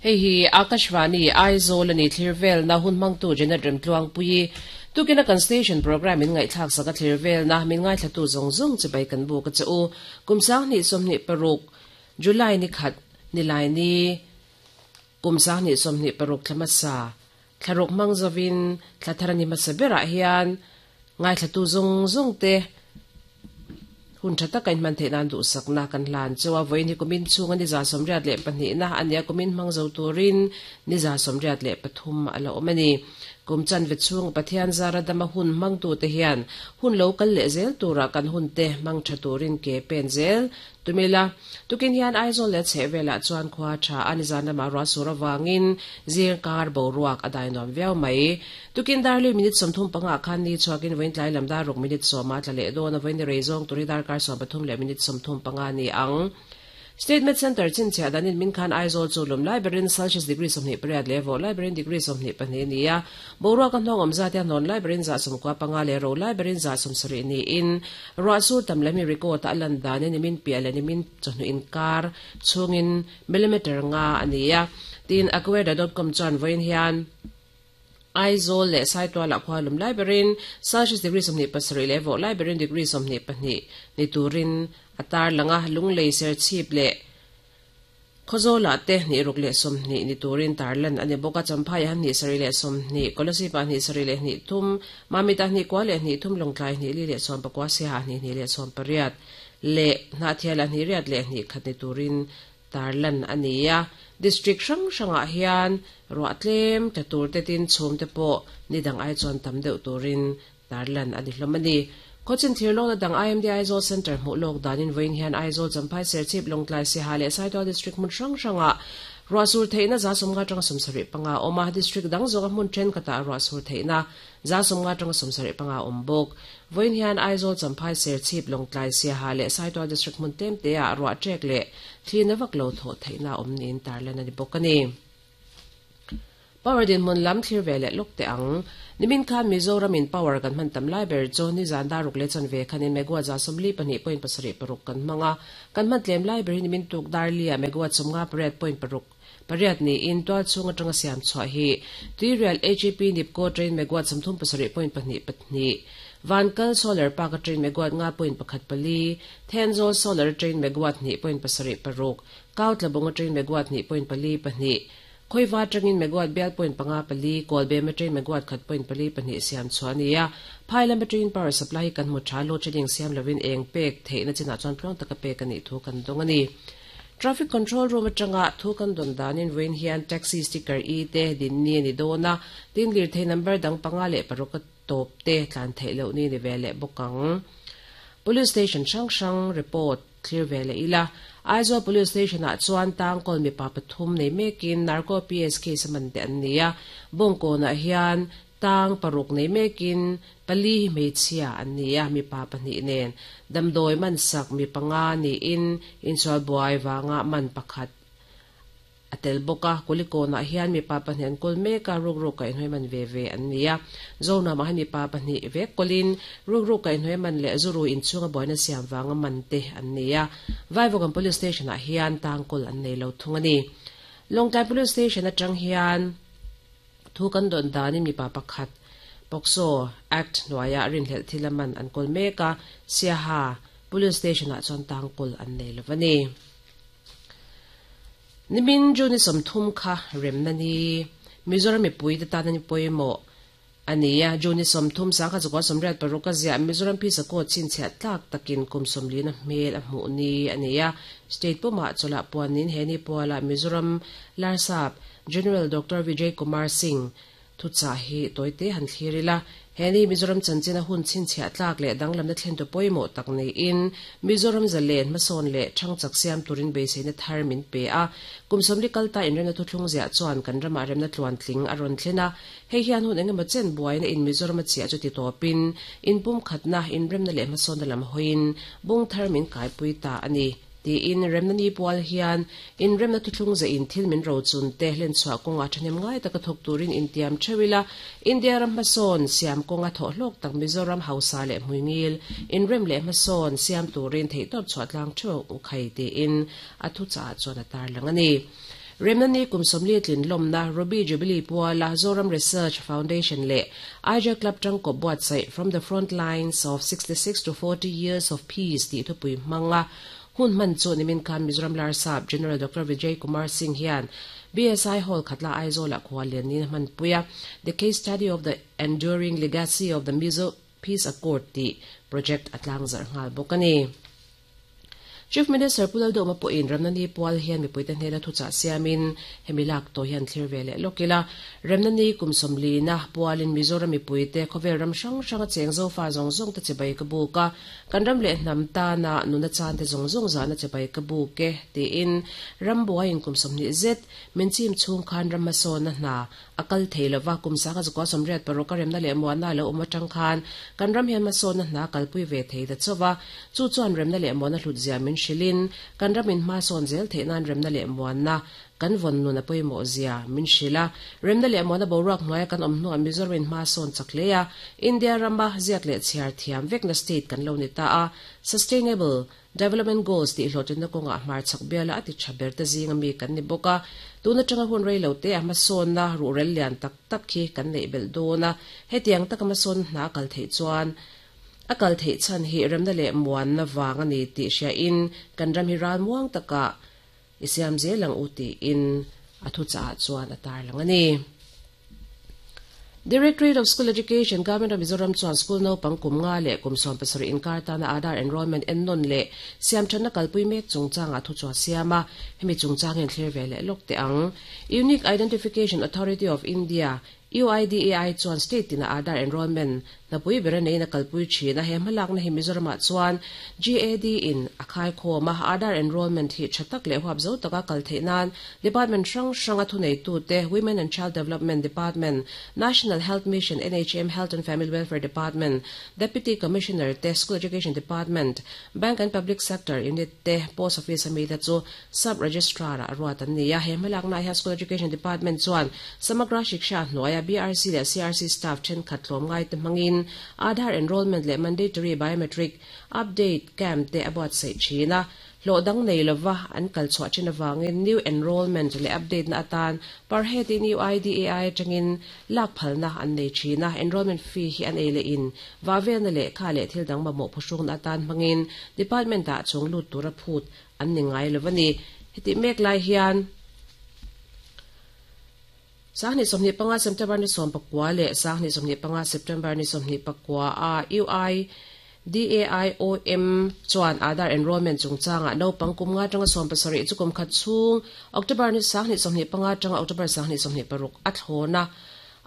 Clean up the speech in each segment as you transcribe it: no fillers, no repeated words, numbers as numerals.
Hei hi Akashvani, Aizawl a ni thlir velna hun hmangtu Janet Remtluangpuii tukina kan station programme min ngaihthlak sak a thlir velna min ngaithlatu zawng zawng chibai kan buk a che u. Kum 2026 July ni khat nilai ni kum 2026 thla hmasa thlaruk hmang zovin thla thar a ni hmasa berah hian ngaithlatu zawng zawng te Hun tha taka inhman theih nan duhsakna kan hlan chu a. Vawiin hi kumin chhunga ni 82 na a nia, kumin hmang zo turin ni 83 a la awm a ni. Kum chanve chhunga Pathian zara dama hun hmangtute hian hun lo kal leh zel turah kan hunte hmang tha turin ke pen zel tum ila. Tukin hian Aizawl leh a chhehvelah chuan khua tha a nizan lamah ruah sur avangin zirkar boruak a dai nuam viau mai. Tukin dar lui minute 35 ah khan ni chhuakin vawiin tlai lam dar ruk minute 10 a tla leh dawn a, vawiin ni rei zawng tur hi darkar 13 leh minute 35 a ni ang. State Med Centre chhinchhiah danin min khan Aizawl chu lum lai berin Celsius degree 28 leh vawh lai berin degree 22 a ni a, boruak a hnawng awm zat hian hnawn lai berin 95 leh ro lai berin 70 niin ruah sur tam lehmi record a lan danin nimin piah leh nimin chawhnu inkar chhungin millimeter nga a ni a, tiin Acuweather dot com chuan vawiin hian Aizawl leh Saitualah khua lum lai berin Celsius degree 27 leh vawh lai berin degree 22 ni turin a tarlang a, Lunglei Serchhip leh Khawzawlah te hnih ruk leh 20 ni turin tarlan a ni bawk a, Champhaiah han hnih sarih leh 20, Kolasipah hnih sarih leh hnih thum, Mamitah hnih kua leh hnih thum, Lawngtlai hnih li leh 19, Siaha hnih hnih leh 18 leh Hnahthialah hnih riat leh hnih khat ni turin tarlan a ni a. District hrang hrangah hian ruah tlem tla tur te tin chhum te pawh ni dang ai chuan tam deuh turin tarlan a ni hlawm a ni. Khawchin thir lawkna dang IMD Aizawl Centre hmuh lawk danin vawiin hian Aizawl, Champhai, Serchhip, Lawngtlai, Siaha leh Saitual District hmun hrang hrangah ruah sur theihna 50 atanga 75 a awm a, District dang zawnga hmun thenkhatah ruah sur theihna 50 atanga 75 a awm bawk. Vawiin hian Aizawl, Champhai, Serchhip, Lawngtlai, Siaha leh Saitual District hmun tlem teah ruah ṭek leh thlina vak lo thawh theihna a awm niin tarlan a ni bawk a ni. Power dinhmun lam thlir ve leh lawk teh ang. Nimin khan Mizoram in power kan hman tam lai ber chu nizan dar ruk leh chanve khanin megawatt 42.76 kan hmang a, kan hman tlem lai ber hi nimin tuk dar lia megawatt 58.6 Pariat niin tual chhung atanga siam chhuah hi Tuirial HEP Nipco train megawatt 37.24, Vankal Solar Park a train megawatt 5.14, Thenzawl Solar train megawatt 2.76, Kautlabung a train megawatt 2.42, Khawiva atangin megawatt bial point panga pali, Kawlbem a train megawatt khat point pali pahnih siam chhuah a ni a. Phai lama train power supply hi kan hmu tha, load shedding siam lovin eng pek theihna chinah chuan tluang taka pek a nih thu kan dawng a ni. Traffic control room atanga thu kan dawn danin vawiin hian taxi sticker e te din ni a ni dawn a, tin lirthei number dang panga leh paruk a tawp te tlan theih loh ni ni ve leh bawk ang. Police station hrang hrang report thlir ve leh ila, Aizawl Police Station ah chuan tangkawl mipa pathum nei mekin Narco PS case a man te an ni a, Bawngkawnah hian Tang paruk nei mekin pali hi hmeichhia an ni a, mipa pahnih nen damdawi man sak mi panga niin insual buai vanga man pakhat a tel bawk a. Kulikawnah hian mipa pahnih an kawl mek a, rukruk kaihhnuai man ve ve an ni a. Zonamah hian mipa pahnih vek kawlin rukruk kaihhnuai man leh zuru inchhunga buaina siam vanga man te an ni a. Vaivawkan Police Station-ah hian tang kawl an nei lo thung a ni. Lawngtlai Police Station atang hian. Thu kan dawn danin mipa pakhat POCSO Act hnuaiah rinhlelh thil a man an kawl mek a, Siaha Police Station-ah chuan tangkawl an nei lo a ni. Nimin June 30 kha remna ni Mizoram mipuite tana ni pawimawh a ni a, June 30 1986 a ziah Mizoram Phisa Code chhinchhiah tlak takin kum sawmlina hmel a hmuh ni a ni a, State pumah chawlhah puanin he ni pualah Mizoram Larsap General Doctor Vijay Kumar Singh thuchah hi tawite han thlir ila, he ni Mizoram chanchina hun chhinchhiah tlak leh danglamna thlentu pawimawh tak niin Mizoram zalen hmasawn leh thangchak siam turin beiseina thar min pe a. Kum sawmli kalta inremna thuthlung ziah chuan kan ramah remna tluantling a rawn thlen a, hei hian hun engemaw chen buaina in Mizoram a chiah chu ti tawpin inpumkhatna, inremna leh hmasawnna lam hawiin bung thar min kaipui ta a ni. Tiin remna ni pual hian inremna thuthlung zehin thil min rochun te hlenchhuah kawngah thahnem ngai taka thawk turin intiam theuh ila, India ram hmasawn siam kawnga thawh hlawk tak Mizoram hausa leh hmuingil inrem leh hmasawn siam turin theihtawp chhuah tlang theuh u khai tiin a thuchah chuan a tarlang a ni. Remna Ni kum 40 tlin lawmna Ruby Jubilee puala Zoram Research Foundation leh Aija Club tangkawp buatsaih From the Front Lines of 66 to 40 Years of Peace tih thupui hmanga hun hman chu nimin khan Mizoram Larsap General Doctor Vijay Kumar Singh hian BSI Hall Khatla Aizawl-ah khuallian niin a hmanpui a, The Case Study of the Enduring Legacy of the Mizo Peace Accord tih project a tlangzarh nghal bawk a ni. Chief Minister Pu Lalduhma pawhin Remna Ni pual hian mipuite hnena thuchah siamin hemi lak tawh hian thlir ve leh lawk ila. Remna Ni kum 40na pualin Mizoram mipuite khawvel ram hrang hranga cheng zofa zawng zawngte chibai ka buk a, kan ram leh hnam tana nuna chante zawng zawng zahna chibai ka buk e tiin rambuaiin kum 20 zet min chim chhung khan ram hmasawnna hna A kal thei lo va, kum sanga zakua 86 a remna leh muanna a lo awm atang khan kan ram hian hmasawnna hna kalpui ve thei ta chauh va. Chu chuan remna leh muanna hlutzia min hrilhin kan ramin hmasawn zel theih nan remna leh muanna kan vawn nun a pawimawh zia min hrilh a. Remna leh muanna boruak hnuaia kan awm hnuah Mizoramin hmasawn chak hle a, India rama ziak leh chhiar thiam vekna state kan lo ni ta a. Sustainable Development Goals tih hlawhtlinna kawngah hmarchhak biala a ti tha ber te zinga mi kan ni bawk a, tun atanga hun rei lo te a hmasawnna ruhrel lian tak tak hi kan neih belh dawn a, hetiang taka hmasawnna hna a kal theih chuan a kal theih chhan hi remna leh muanna vang a ni tih hriain kan ram hi ralmuang takah i siam zel ang u tiin a thuchah chuan a tarlang a ni. Directorate of School Education, Government of Mizoram chuan school naupang kum nga leh kum 17 inkar tana Aadhaar enrollment ennawn leh siamthatna kalpui mek chungchangah thuchhuah siam a, hemi chungchang hian thlir ve leh lawk teh ang. Unique Identification Authority of India, UIDAI, chuan state tina Aadhaar enrollment hnapui ber a neiin a kalpui thin a, he hmalakna hi Mizoramah chuan GAD in a khaikhawm a, Aadhaar enrollment hi tha tak leh huap zo taka kal theih nan Department hrang hranga thuneitute, Women and Child Development Department, National Health Mission, NHM, Health and Family Welfare Department, Deputy Commissioner te, School Education Department, Bank and Public Sector Unit te, Post Office a mite chu Sub Registrar-ah a ruat an ni a. He hmalaknaah hian School Education Department chuan Samagra Shiksha hnuaia BRC leh CRC staff thenkhat tlawmngaite hmangin Aadhaar enrollment leh mandatory biometric update camp te a buatsaih thin a. Hlawh dang nei lova an kal chhuah thin avangin new enrollment leh update na atan per head in UIDAI atangin lak phalna an nei thin a, enrollment fee hi an ei leh in vah velna lehkha leh thil dang mamawh phuhrukna atan hmangin department ah chung lut tura phut an ni ngai lo a ni. Hetih mek lai hian 2025 September ni 19 leh 2025 September ni 24 a UI DAIOM chuan Aadhaar enrollment chungchangah naupang kum nga atanga 17 chu kum khat chhung October ni 2025 atanga October 2026 a thlawn a,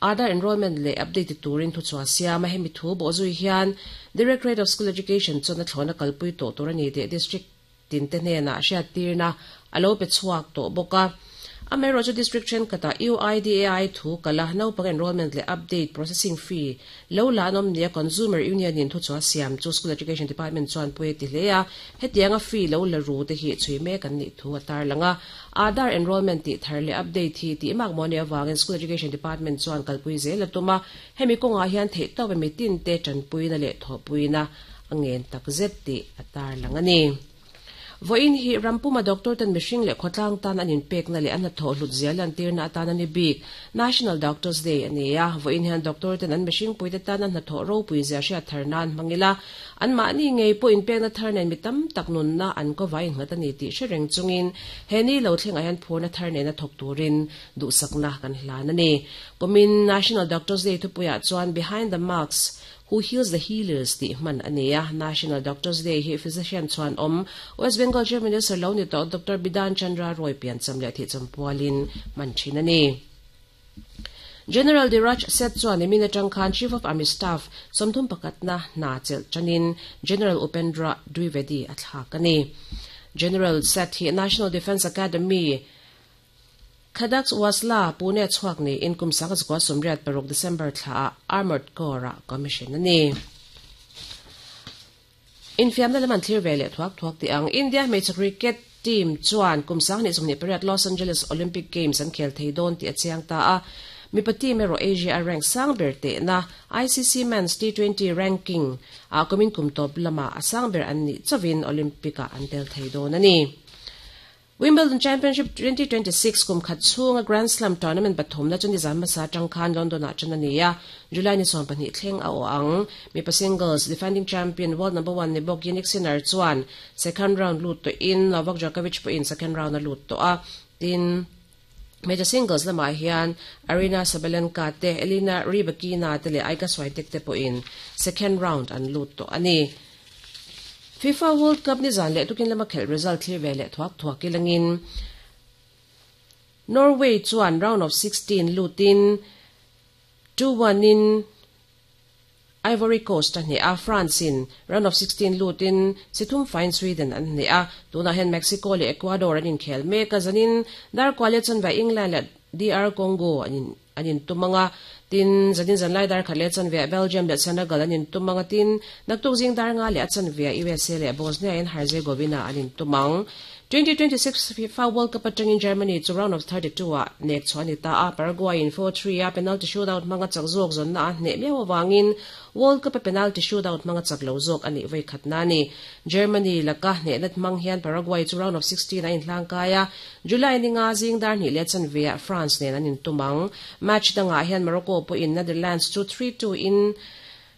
Aadhaar enrollment leh update ti turin thuchhuah siam a, hemi thu bawhzui hian Directorate of School Education chuan a thlawn a kalpui tawh tur a ni tih District tinte hnenah hriattirna a lo pe chhuak tawh bawk a. Amaherawhchu District thenkhatah UIDAI thu kal a, naupang enrollment leh update processing fee lo la an awm nia Consumer Union in thuchhuah siam chu School Education Department chuan pawi a ti hle a, hetianga fee lo la ru te hi chhui mek an nih thu a tarlang a. Aadhaar enrollment tih thar leh update hi tih mak maw nih avangin School Education Department chuan kalpui zel a tum a, hemi kawngah hian theihtawp a mitinte tanpuina leh thawhpuina a ngen takzet tih a tarlang a ni. Vawiin hi rampuma doctor ten mihring leh khawtlang tan an inpekna leh an hnathawh hlut zia lantirna atan a ni bik. National Doctors Day a ni a, vawiin hian doctor ten an mihringpuite tan an hnathawh ropui zia hriat thar nan hmang ila, anmahni ngei pawh inpekna thar nen mi tam tak nunna an kawvai innghat a ni tih hre reng chungin he ni lo thlengah hian phurna thar nena thawk turin duhsakna kan hlan a ni. Kumin National Doctors Day thupuiah chuan Behind the Mask, Who Heals the Healers tih hman a ni a, National Doctors Day hi physician chuan awm West Bengal Chief Minister lo ni tawh Doctor Bidhan Chandra Roy piancham leh thihcham pualin hman thin a ni. General Dhiraj Seth chuan nimin atang khan Chief of Army Staff 30 pakhatna hna chelh tanin General Upendra Dwivedi a thlak a ni. General Seth hi National Defence Academy Khadaks Wasla, Pune chhuak niin kum 1986 December thlaah Armoured Corps-ah commission a ni. Infiamna lam an thlir ve leh thuak thuak tih ang. India hmeichhe cricket team chuan kum 2028 Los Angeles Olympic Games an khel thei dawn tih a chiang ta a. Mipa team erawh Asia a rank sang ber tehna ICC Men's T20 ranking ah kumin kum tawp lamah a sang ber an nih chauhin Olympic-ah an tel thei dawn a ni. Wimbledon Championship 2026 kum khat chhunga Grand Slam tournament pathumna chu nizan hmasa atang khan London-ah tan a ni a, July ni 20 thleng a awh ang. Mipa singles defending champion world number one ni bawk Jannik Sinner chuan second round lut tawhin Novak Djokovic pawhin second round a lut tawh a, tin, hmeichhe singles lamah hian Aryna Sabalenka te, Elina Rybakina te leh Iga Swiatek te pawhin second round an lut tawh a ni. FIFA World Cup nizan leh tukin lama khelh result thlir ve leh thuak thuak ilangin Norway chuan round of 16 lutin 2-1 in Ivory Coast a hneh a, France in round of 16 lutin si thum faiin Sweden an hneh a, tunah hian Mexico leh Ecuador an inkhel mek a, zanin Darkualia chanve England leh DR Congo an in an intum ang a, tin, zanin zanlai dar khat leh chanve Belgium leh Senegal an intum ang a, tin, naktuk zing dar nga leh a chanve USA leh Bosnia and Herzegovina an intum ang. 2026 FIFA World Cup atangin Germany chu round of 32 ah nek chhuah a ni ta a, Paraguay in 4-3 a penalty shootout hmanga chak zawk zawnna a hneh miau avangin World Cup a penalty shootout hmanga chak lo zawk a nih vawi khatna a ni. Germany laka hnehna hmang hian Paraguay chu round of 16 a inhlangkai a, July ni nga zing dar hnih leh chanveah France nen an intum ang. Match dangah hian Morocco pawhin Netherlands chu 3-2 in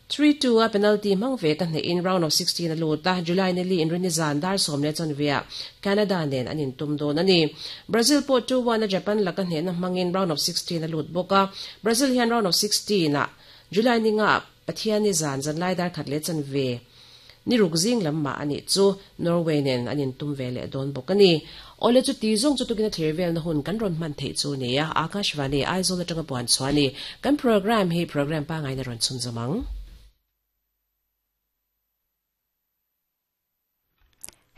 3-2 a penalty hmang ve ka hnehin round of 16 a lut a, July ni li inrinni zan dar sawm leh chanveah Canada nen an intum dawn a ni. Brazil pawh 2-1 a Japan laka hnehna hmangin round of 16 a lut bawk a, Brazil hian round of 16 ah July ni nga Pathianni zan zanlai dar khat leh chanve Ni ruk zing lam mah a nih chu Norway nen an intum ve leh dawn bawk a ni. Awle chu ti zawng chu tukin a thlir velna hun kan rawn hman theih chu nia, Akashvani, Aizawl atanga puan chhuah a ni. Kan programme hi programme pangaina rawn chhunzawm ang.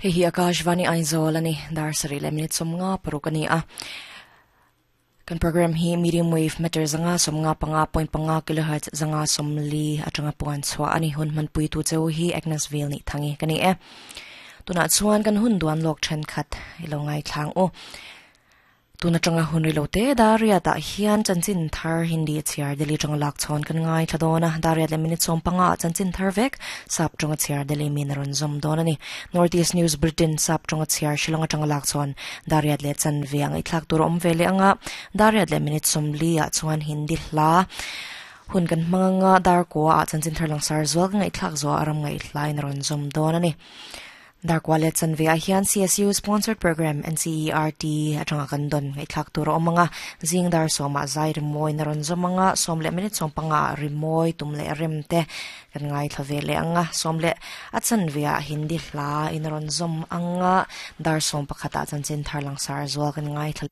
Hei hi Akashvani Aizawl a ni, dar sarih leh minute 50 paruk a ni a. Kan program hi medium wave meter 155.5 kilohertz 140 atanga puan chhuah a ni. Hun hmanpuitu cheu hi Agnes Vil nih thangi ka ni e. Tunah chuan kan hun duan lawk thenkhat i lo ngaithlang u. Tun atanga hun ri lo te Dariat ah hian chanchin thar Hindi a chhiar Delhi atanga lak chhawn kan ngaithla dawn a, Dariat leh minute 15 ah chanchin thar vek Sap tawnga chhiar Delhi min a rawn zawm dawn a ni. North East News Bulletin Sap tawnga chhiar Shillong atanga lak chhawn Dariat leh chanve a ngaihthlak tur a awm ve leh anga Dariat leh minute 40 ah chuan Hindi hla hun kan hmang anga Darkua ah chanchin thar langsar zual ka ngaihthlak zuah a ram ngaihthlain a rawn zawm dawn a ni. Darkua leh chanve ah hian CSU sponsored program NCERT atanga kan dawn ngaihthlak tur a awm ang a, zing dar sawmah zai rimawi na rawn zawm ang a, sawm leh minute 15 ah rimawi tum leh rem te kan ngaithla ve leh ang a, sawm leh a chanve ah Hindi hla in a rawn zawm ang a, dar 11 ah chanchin thar langsar zual kan ngaithla.